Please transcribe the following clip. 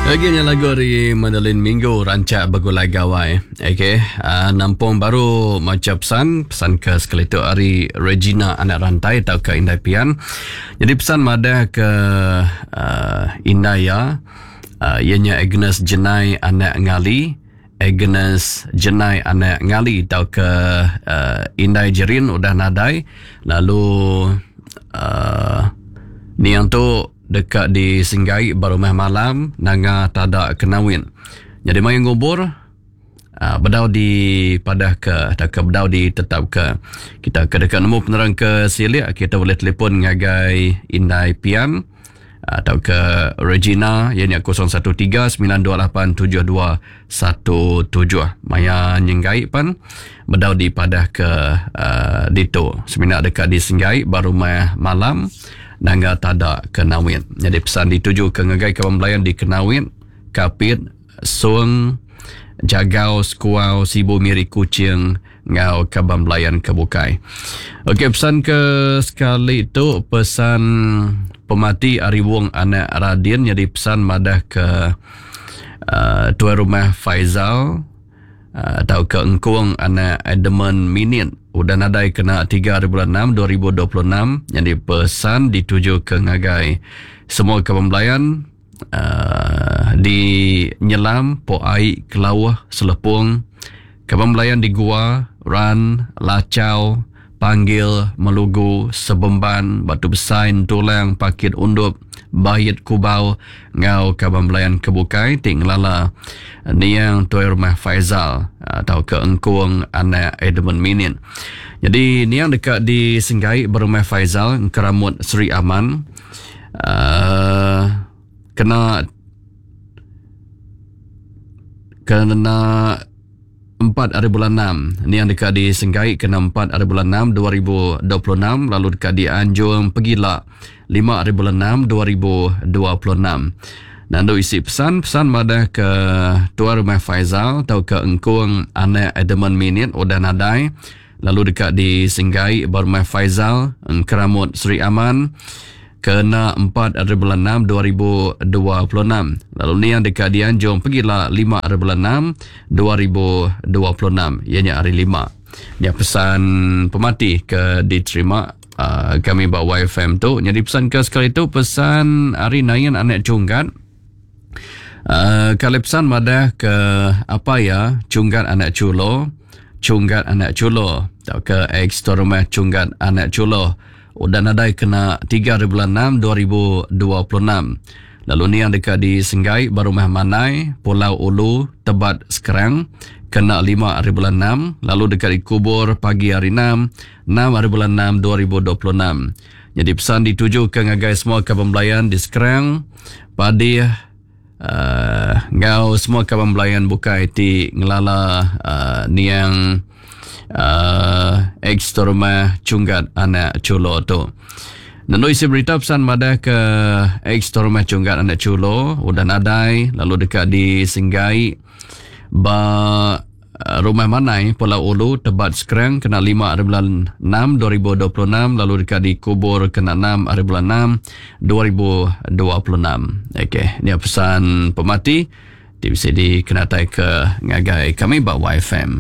Agi nya lagu ari Madeline Minggu rancak begulai gawai. Okey, uh, nampung baru macha pesan, pesan ke sekali tu ari Regina anak rantai tauka Indai Pian. Jadi pesan madah ke uh, indai iya uh, iya nya Agnes Jenai anak Ngali, Agnes Jenai anak Ngali tauka uh, Indai Jerin udah nadai lalu uh, niang tu deka disenggai ba rumah malam nanga tada Kenawin. Nyadi maya ngubur uh, bedau dipadahka tauka bedau ditetapka. Kita ke deka nemu penerang ke silik kita boleh telefon ngagai Indai Pian uh, tauka Regina iya nya 013 928 7217. Maya nyenggai pan bedau dipadahka uh, ditu. Semina deka disenggai ba rumah malam Nanga Tada Kenawit. Nyadi pesan dituju ke ngagai kaban belayan di Kenawit, Kapit, Song, Jagau, Sekuau, Sibu, Miri, Kuching enggau kaban belayan ke bukai. Okey pesan ke sekali tu pesan pemati ari Wong anak Radin nyadi pesan madah ke uh, tuai rumah Faizal tauka engkung anak Edmund Minit udah nadai kena 3 hari bulan 6 2026 nyadi pesan dituju ke ngagai semua kaban belayan uh, di Nyelam, Po Ai, Kelauh, Selepong, kaban belayan di Gua, Ran, Lachau, Panggil, Melugu, Sebemban, Batu Besai, Entulang, Pakit Undup, Bait Kubau enggau kaban belayan ke bukai ti ngelala niang tuai rumah Faizal tauka Engkung anak Edmund Minin. Nyadi niang deka disenggai ba rumah Faizal Engkeramut Sri Aman uhh kena kena 4 hari bulan 6. Niang deka disenggai kena 4 hari bulan 6 2026 lalu deka dianjung pegila 5 hari bulan 6 2026. Nandu isi pesan, pesan madah ke Tuan Rumah Faizal tauka Engkung anak Edmund Minit udah nadai lalu deka disenggai ba Rumah Faizal Engkeramut Sri Aman kena 4 hari bulan 6 2026 lalu niang deka dianjung pegila 5 hari bulan 6 2026 iya nya hari lima. Nya pesan pemati ke diterima uh, kami ba YFM tu. Nyadi pesan ke sekali tu pesan hari Nain anak Chunggat. Uh, kali pesan madah ke apa ya Chunggat anak Chulo, Chunggat anak Chulo tauka ex rumah Chunggat anak Chulo udah nadai kena 3 hari bulan 6 2026. Lalu niang deka disenggai ba Rumah Manai, Pulau Ulu, Tebat Skrang kena 5 hari bulan 6 lalu deka dikubur pagi hari 6, 6 hari bulan 6 2026. Nyadi pesan ditujuka ngagai semua kaban belayan di Skrang, Padih, uh, enggau semua kaban belayan bukai ti ngelala uh, niang uh, ex rumah Chunggat anak Chulo tu. Nendu isi berita pesan madah ke ex rumah Chunggat anak Chulo udah nadai lalu deka disenggai ba Rumah Manai, Pulau Ulu, Tebat Skrang kena 5 hari bulan 6 2026 lalu deka dikubur kena 6 hari bulan 6 2026. Okey, nya pesan pemati ti bisi dikenatai ke ngagai kami ba YFM.